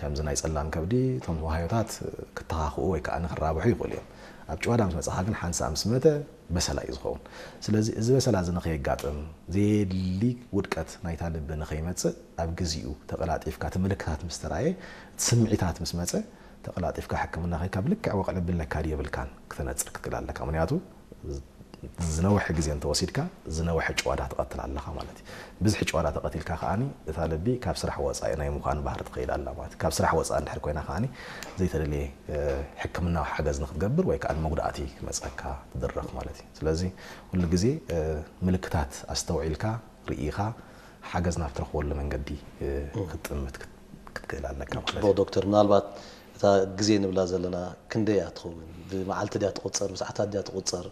ከምዚ ናይ ጸላም ከብዲ እቶም ዋህዮታት ክተኻኽኡ ወይ ከኣ ክራብሑ ይኽእሉ እዮም። ኣብ ጭዋዳ ምስ መጻኻ ግን ሓንሳእ ምስ መተ በሰላ እዩ ዝኸውን። ስለዚ እዚ በሰላ እዚ ንኸየጋጥም ዘየድሊ ውድቀት ናይታ ልቢ ንኸይመጽእ ኣብ ግዚኡ ተቐላጢፍካ እቲ ምልክታት ምስ ተራእየ እቲ ስምዒታት ምስ መጸ ተቐላጢፍካ ሕክምና ከይካ ብልክዕ ወቕዒ ልቢ ኣለካ ድዩ የብልካን ክተነጽር ክትክእል ኣለካ። ምክንያቱ ዝነውሐ ግዜ እንተወሲድካ ዝነውሐ ጭዋዳ ትቐትል ኣለኻ ማለት እዩ። ብዝሒ ጭዋዳ ተቐቲልካ ከዓኒ እታ ልቢ ካብ ስራሕ ወፃኢ ናይ ምዃን ባህሪ ትኸይድ ኣላ ማለት እዩ። ካብ ስራሕ ወፃኢ እንድሕር ኮይና ከዓኒ ዘይተደልየ ሕክምናዊ ሓገዝ ንክትገብር ወይ ከዓ ንመጉዳእቲ ክመፀካ ትድረኽ ማለት እዩ። ስለዚ ኩሉ ግዜ ምልክታት ኣስተውዒልካ ርኢኻ ሓገዝ ናብ ትረኽበሉ መንገዲ ክትጥምት ክትክእል ኣለካ ማለት እዩ። ዶክተር፣ ምናልባት እታ ግዜ ንብላ ዘለና ክንደይ እያ ትኸውን? ብመዓልቲ ድያ ትቑፀር? ብሰዓታት ድያ ትቑፀር?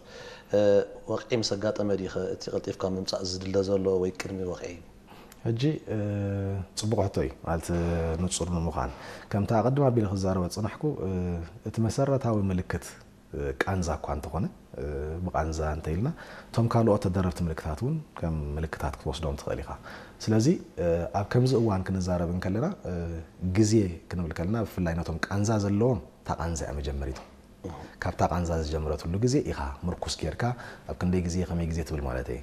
ወቕዒ ምስ ኣጋጠመ ድዩ እቲ ቀልጢፍካ ምምፃእ ዝድለ ዘሎ ወይ ቅድሚ ወቕዒ? ሕጂ ፅቡቕ ሕቶ እዩ ማለት ንፁር ንምዃን ከምታ ቅድም ኣቢለ ክዛረበ ዝፅናሕኩ እቲ መሰረታዊ ምልክት ቃንዛ እኳ እንተኾነ ብቃንዛ እንተኢልና እቶም ካልኦት ተደረብቲ ምልክታት እውን ከም ምልክታት ክትወስዶም ትኽእል ኢኻ። ስለዚ ኣብ ከምዚ እዋን ክንዛረብ እንከለና ግዜ ክንብል ከለና ብፍላይ ነቶም ቃንዛ ዘለዎም እታ ቃንዛ እያ መጀመሪቶም። ካብታ ቃንዛ ዝጀመረትሉ ግዜ ኢኻ ምርኩስ ጌርካ ኣብ ክንደይ ግዜ ከመይ ግዜ ትብል ማለት እየ።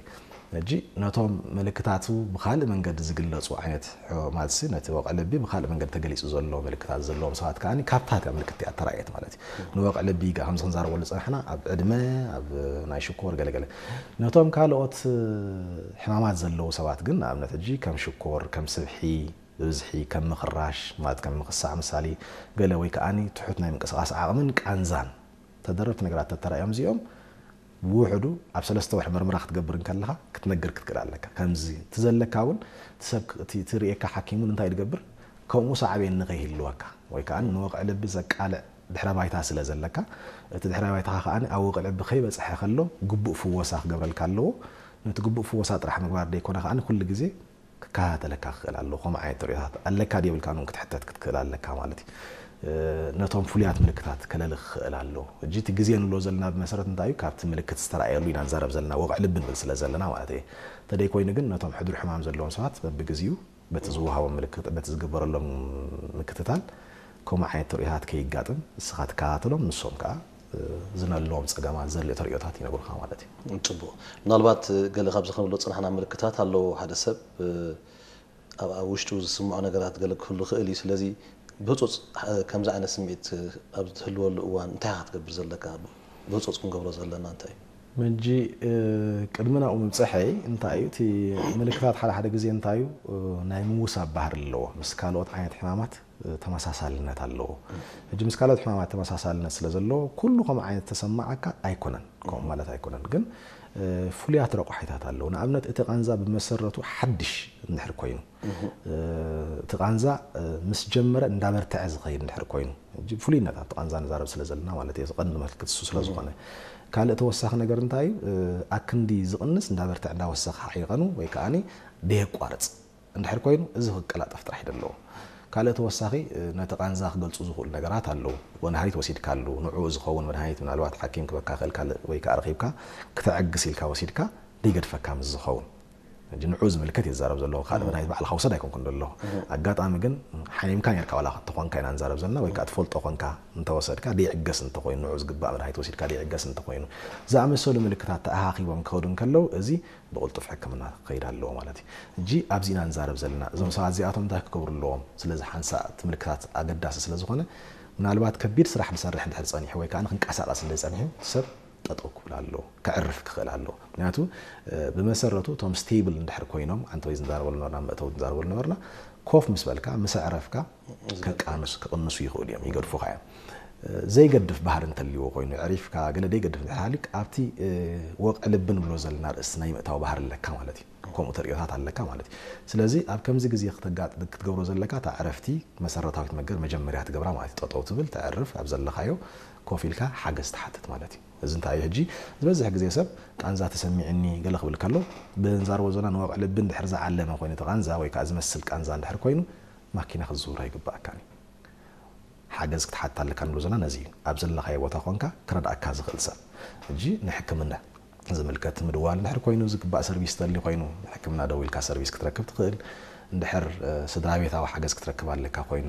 ሕጂ ነቶም ምልክታቱ ብካልእ መንገዲ ዝግለፁ ዓይነት ሕማማትሲ ነቲ ወቕዒ ልቢ ብካልእ መንገዲ ተገሊፁ ዘሎ ምልክታት ዘለዎም ሰባት ከዓ ካብታ እቲኣ ምልክት እቲኣ ተራእየት ማለት እዩ። ንወቕዒ ልቢ ከምዚ ክንዛረበሉ ዝፀናሕና ኣብ ዕድመ ኣብ ናይ ሽኮር ገለገለ ነቶም ካልኦት ሕማማት ዘለዉ ሰባት ግን ንኣብነት ሕጂ ከም ሽኮር ከም ስብሒ ብብዝሒ ከም ምኽራሽ ማለት ከም ምኽሳዕ ምሳሌ ገለ ወይ ከዓኒ ትሑት ናይ ምንቅስቃስ ዓቕምን ቃንዛን ተደረብቲ ነገራት ተተራእዮም እዚኦም ብውሕዱ ኣብ ሰለስተ ወርሒ መርመራ ክትገብር እንከለኻ ክትነግር ክትክእል ኣለካ። ከምዚ እቲ ዘለካ እውን እቲ ሰብ እቲ እቲ ርእየካ ሓኪም እውን እንታይ ድገብር ከምኡ ሳዕቤን ንኸይህልወካ ወይ ከዓ ንወቕዒ ልቢ ዘቃልዕ ድሕረ ባይታ ስለ ዘለካ እቲ ድሕረ ባይታኻ ከዓ ኣብ ወቕዒ ልቢ ከይበፅሐ ከሎ ግቡእ ፍወሳ ክገብረልካ ኣለዎ። ነቲ ግቡእ ፍወሳ ጥራሕ ምግባር ደይኮነ ከዓ ኩሉ ግዜ ክከታተለካ ክኽእል ኣለዎ። ከምኡ ዓይነት ተርእዮታት ኣለካ ድዩ የብልካን እውን ክትሕተት ክትክእል ኣለካ ማለት እዩ። ነቶም ፍሉያት ምልክታት ከለሊ ክኽእል ኣለዎ። ሕጂ እቲ ግዜ ንብሎ ዘለና ብመሰረት እንታይ እዩ ካብቲ ምልክት ዝተረኣየሉ ኢና ንዛረብ ዘለና ወቕዒ ልቢ ንብል ስለ ዘለና ማለት እየ። እንተደይ ኮይኑ ግን ነቶም ሕዱር ሕማም ዘለዎም ሰባት በብግዚኡ በቲ ዝወሃቦም ምልክት በቲ ዝግበረሎም ምክትታል ከምኡ ዓይነት ተርእዮታት ከይጋጥም ንስኻ ትከታተሎም ንሶም ከዓ ዝነለዎም ፀገማት ዘድልዮ ተርእዮታት ይነግሩኻ ማለት እዩ። ፅቡቕ። ምናልባት ገለ ካብዚ ክንብሎ ዝፀናሕና ምልክታት ኣለዎ። ሓደ ሰብ ኣብ ኣብ ውሽጡ ዝስምዖ ነገራት ገለ ክህሉ ይኽእል እዩ። ስለዚ ብህፁፅ ከምዚ ዓይነት ስምዒት ኣብ እትህልወሉ እዋን እንታይ ኢኻ ክትገብር ዘለካ? ብህፁፅ ክንገብሮ ዘለና እንታይ እዩ? ሕጂ ቅድሚ ናብኡ ምብፅሐይ እንታይ እዩ እቲ ምልክታት ሓደ ሓደ ግዜ እንታይ እዩ ናይ ምውሳብ ባህሪ ኣለዎ ምስ ካልኦት ዓይነት ሕማማት ተመሳሳልነት ኣለዎ። ሕጂ ምስ ካልኦት ሕማማት ተመሳሳልነት ስለ ዘለዎ ኩሉ ከምኡ ዓይነት ተሰማዓካ ኣይኮነን። ከምኡ ማለት ኣይኮነን ግን ፍሉያት ረቋሒታት ኣለዉ። ንኣብነት እቲ ቃንዛ ብመሰረቱ ሓድሽ እንድሕር ኮይኑ እቲ ቃንዛ ምስ ጀመረ እንዳበርትዐ ዝኸይድ እንድሕር ኮይኑ ሕጂ ፍሉይነት ኣብቲ ቃንዛ ንዛረብ ስለ ዘለና ማለት እየ። ቀንዲ መልክት እሱ ስለ ዝኾነ ካልእ ተወሳኺ ነገር እንታይ እዩ ኣክንዲ ዝቕንስ እንዳበርትዐ እንዳወሰኸ ሓይቐኑ ወይ ከዓኒ ደየቋርፅ እንድሕር ኮይኑ እዚ ክቀላጠፍ ጥራሕ እዩ ዘለዎ። ካልእ ተወሳኺ ነቲ ቃንዛ ክገልፁ ዝኽእሉ ነገራት ኣለዉ። መድሃኒት ወሲድካሉ ንዕኡ ዝኸውን መድሃኒት ምናልባት ሓኪም ክበካ ክእል ካልእ ወይ ከዓ ረኺብካ ክተዕግስ ኢልካ ወሲድካ ደይገድፈካ ምስ ዝኸውን ሕጂ ንዑ ዝምልከት እየ ዝዛረብ ዘለኹ። ካልእ መድሃኒት ባዕልኻ ውሰድ ኣይኮንኩን ዘለኹ። ኣጋጣሚ ግን ሓሚምካ ኔርካ ዋላ ተኾንካ ኢና ንዛረብ ዘለና ወይ ከዓ ትፈልጦ ኮንካ እንተወሰድካ ደይዕገስ እንተኾይኑ ንዑ ዝግባእ መድሃኒት ወሲድካ ደይዕገስ እንተኾይኑ ዝኣመሰሉ ምልክታት ተኣኻኺቦም ክኸዱ እንከለዉ እዚ ብቕልጡፍ ሕክምና ክኸይድ ኣለዎ ማለት እዩ። ሕጂ ኣብዚ ኢና ንዛረብ ዘለና። እዞም ሰባት እዚኣቶም እንታይ ክገብሩ ኣለዎም? ስለዚ ሓንሳእ እቲ ምልክታት ኣገዳሲ ስለ ዝኾነ ምናልባት ከቢድ ስራሕ ዝሰርሕ እንድሕር ፀኒሑ ወይ ከዓ ክንቀሳቐስ እንደ ፀኒሑ እቲ ሰብ ጠጠው ክብል ኣለዎ፣ ከዕርፍ ክኽእል ኣለዎ። ምክንያቱ ብመሰረቱ እቶም ስቴብል እንድሕር ኮይኖም ኣንተ ወይ ዝንዛረበሉ ነበርና መእተው ዝንዛረበሉ ነበርና ኮፍ ምስ በልካ ምስ ኣዕረፍካ ከቃንሱ ክቕንሱ ይኽእሉ እዮም፣ ይገድፉኻ እዮም። ዘይገድፍ ባህሪ እንተልዎ ኮይኑ ዕሪፍካ ገለ ደይገድፍ እንድሕር ሃልዩ ኣብቲ ወቕዒ ልቢ ንብሎ ዘለና ርእሲ ናይ ምእታው ባህሪ ኣለካ ማለት እዩ። ከምኡ ተርእዮታት ኣለካ ማለት እዩ። ስለዚ ኣብ ከምዚ ግዜ ክትገብሮ ዘለካ እታ ዕረፍቲ መሰረታዊት ነገር መጀመርያ ትገብራ ማለት እዩ። ጠጠው ትብል፣ ተዕርፍ፣ ኣብ ዘለኻዮ ኮፍ ኢልካ ሓገዝ ትሓትት ማለት እዩ። እዚ እንታይ እዩ ሕጂ ዝበዝሕ ግዜ ሰብ ቃንዛ ተሰሚዕኒ ገለ ክብል ከሎ ብንዛረቦ ዘለና ንወቕዒ ልቢ እንድሕር ዝዓለመ ኮይኑ እቲ ቃንዛ ወይ ከዓ ዝመስል ቃንዛ እንድሕር ኮይኑ ማኪና ክትዝውር ኣይግባኣካን እዩ። ሓገዝ ክትሓትት ኣለካ ንብሎ ዘለና ነዚ እዩ። ኣብ ዘለኻዮ ቦታ ኮንካ ክረድኣካ ዝኽእል ሰብ። ሕጂ ንሕክምና ዝምልከት ምድዋል እንድሕር ኮይኑ ዝግባእ ሰርቪስ ትደሊ ኮይኑ ንሕክምና ደዊልካ ሰርቪስ ክትረክብ ትኽእል። እንድሕር ስድራ ቤታዊ ሓገዝ ክትረክብ ኣለካ ኮይና